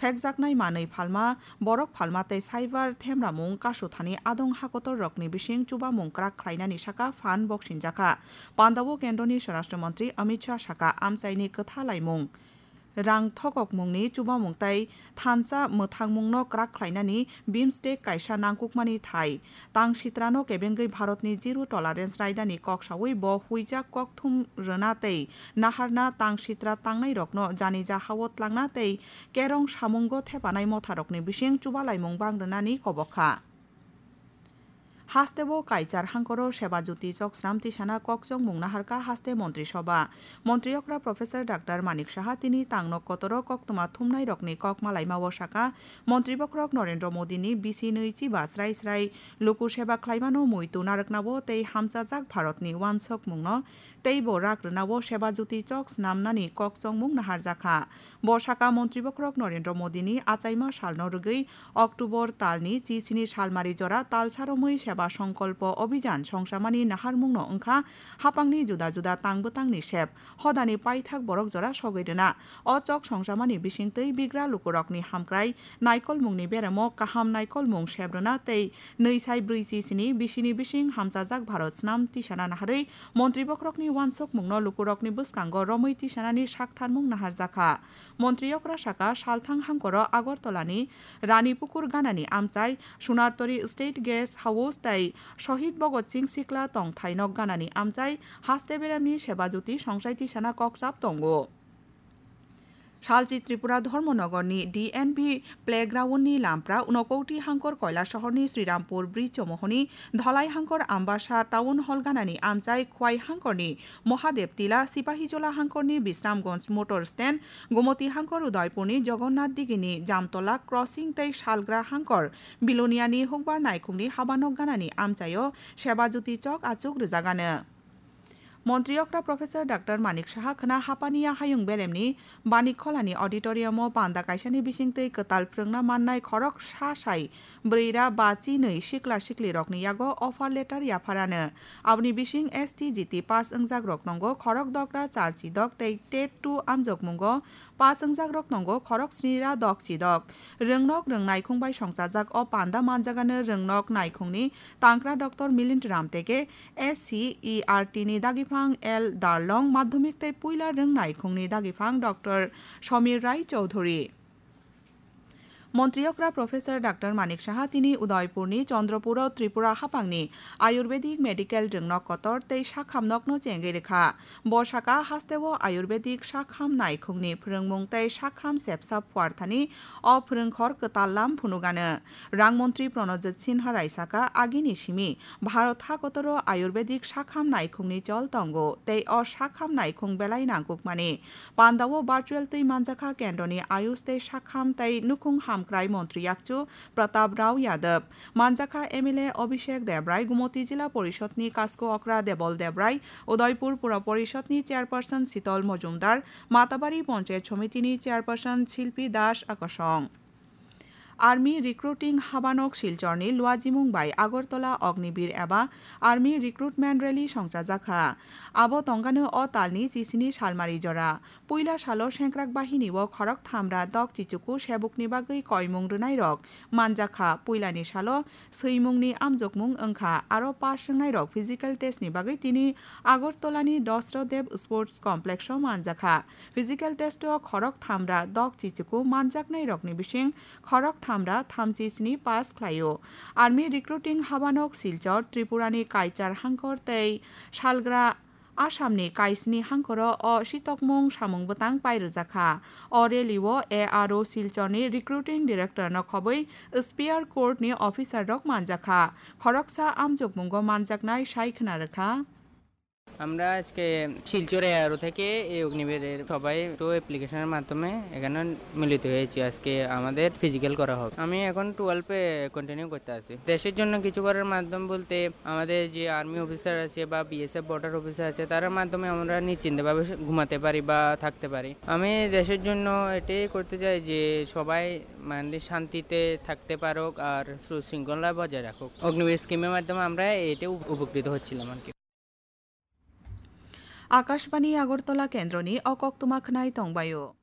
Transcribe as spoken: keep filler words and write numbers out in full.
Pekjaknai manwi phalma, borok phalma tei cyber themramung kasuthani adong hakotor rokni bising chubamung kwrak khlainani saka phan boksinjakha. Pandao kendroni Swarashtra Mantri Amit Shah saka amchaini kwtha laimung, rang thokokmungni chubamung tei thansa mwthangmungno kwrak khlainani bimstek kaisa nangkukmani thai. Tang sitrano kebengwi Bharatni zero tolerance raidani kok saui bo huijak kokthum rwna tei naharna tang sitra tangnairokno janija hao tlangna tei kerong samungo thepanai motharokni bising chubalaimung bang rwnani kobok kha. Hasteo kaichar hangkoro Seba Jyoti chok snam tisana kokchongmung naharkha haste Montri Sobha. Montri okra Professor Doctor Manik Saha tini tangno kotoro koktwma thumnairokni kok malaimao saka, Montri bokhorok Narendra Modini bisi nwi chiba srai srai luku seba khlaimano muitu narwknao tei hamchajak Bharatni uansukmungno teibo rak rwnao Seba Jyoti chok snamnani kokchongmung naharjakha. Bo saka Montri bokhorok Narendra Modini achaima salno rwgwi October talni chisini salmari jora talsa romwi Seba Songkolpo Obhijan songchamani naharmungno wngkha hapangni juda juda tang bwtangni sep, hodani paithak borok jora sogwi rwna. O chok songchamani bisingtwi bigra lukurokni hamkrai, naikolmungni beremo kaham naikolmung sep rwna tei nwi sai brwi chisini bisini bising hamchajak Bharat snam tisana naharwi Montri bokhorokni uansukmungno lukurokni bwskango romwi tisanani saktharmung naharjakha. Montri okra saka salthang hangkoro Agartala ni Rani Pukur ganani amchai, Sunartori State Guest House tei Shohid Bhagat Singh Sikla tongthai nok ganani amchai, haste beremni Seba Jyoti songchai tisana kokchap tongo. Salchi Tripura Dharmanagar ni D N B playground ni lampra Unakoti hangkor Koilashahar ni Srirampur Bridge chomohoni Dhalai hangkor Ambasa Town Hall ganani amchai Khwai hangkor ni Mahadev Tila, Sipahijola hangkor ni Bisramganj Motor Stand, Gomoti hangkor Udaipur ni Jagannath Digi ni Jamtola Crossing tei Salgra hangkor Bilonia ni Hukbar Naikhung ni habanok ganani amchaio Seba Jyoti chok achuk rwjagano. Montri okra Professor Doctor Manik Saha khwna hapani a hayung beremni Banik Kholani auditorium o panda kaisani bisingtwi kwtal phrwngna mannai khorok sa sai bwrwi ra ba chinwi sikla sikli rokni yago offer letter yapharano. Aboni bising S T G T pass wngjak rok tongo khorok dok ra char chidok tei tet two amjokmungo pass wngjak rok tongo khorok sni ra dok chidok. Rwngnok rwng naikhung bai songchajak o panda manjagano rwngnok naikhungni tangkra Doctor Milind Ramteke, S C E R T ni dagiphang L Darlong, madhyamik tei puila rwng naikhungni dagiphang Doctor Samir Rai Chowdhury. Montri okra Professor Doctor Manik Saha tini Udaipurni Chandrapuro Tripura hapangni Ayurvedic Medical Rwngnok Kotor tei Sakham nokno chengwi rwkha. Bo saka hasteo Ayurvedic Sakham naikhungni phrwngmung tei Sakham sepsa phuarthani o phrwngkhor kwtal lam phunugano. Rang montri Pranojit Sinha Rai saka, agini simi Bharat hakotoro Ayurvedic Sakham naikhungni chol tongo tei o Sakham naikhung belai nangkukmani. Pandao virtual twi manjakha kendroni Ayush tei Sakham tei Nukhung Hamkrai Montri Yakchu Pratap Rao Yadav, manjakha M L A Abhishek Debrai, Gumoti Jila Porishod ni Kasko Okra Debol Debrai, Udaipur Pura Porishod ni Chairperson Sital Mojumdar, Matabari Panchayat Somiti ni Chairperson Silpi Das Akosong. Army Recruiting Habanok Silchorni luajimung bai Agartala Ognibir eba Army Recruitment Rally songchajakha. Abo tongkano o talni chisini salmari jora. Puila salo sengkrak bahinio khorok thamra dok chichuku sebukni bagwi koimung rwnairok manjakha. Puilani salo swimungni amjokmung wngkha, aro pass wngnairok physical test ni bagwi tini Agartala ni Dasra Dev Sports Complex o manjakha. Physical test o khorok thamra dok chichuku manjaknairokni bising khorok thamra thamchi sni pass khlaio. Army Recruiting Habanok Silchar, Tripurani Kaichar hangkor tei salgra Assamni kaisni hangkoro o sitokmung samung bwtang pai rwjakha. O rally o A R O Silchorni Recruiting Director no khobwi Spear Court ni officer rok manjakha. Khoroksa amjokmungo manjaknai sai khna rwkha. আমরা আজকে শিলচর এআরও থেকে এই অগ্নিবীরের সবাই তো অ্যাপ্লিকেশনের মাধ্যমে এখানে মিলিত হয়েছি। আজকে আমাদের ফিজিক্যাল করা হবে। আমি এখন টুয়েলভে কন্টিনিউ করতে আছি। দেশের জন্য কিছু করার মাধ্যম বলতে আমাদের যে আর্মি অফিসার আছে বা বিএসএফ বর্ডার অফিসার আছে, তার মাধ্যমে আমরা নিশ্চিন্তভাবে ঘুমাতে পারি বা থাকতে পারি। আমি দেশের জন্য এটাই করতে চাই যে সবাই মানে শান্তিতে থাকতে পারুক আর সুশৃঙ্খলা বজায় রাখুক। অগ্নিবীর স্কিমের মাধ্যমে আমরা এটাই উপ-, উপকৃত হচ্ছিলাম আর কি। Akashbani Agartala kendroni o koktwma khwnai tongbaio.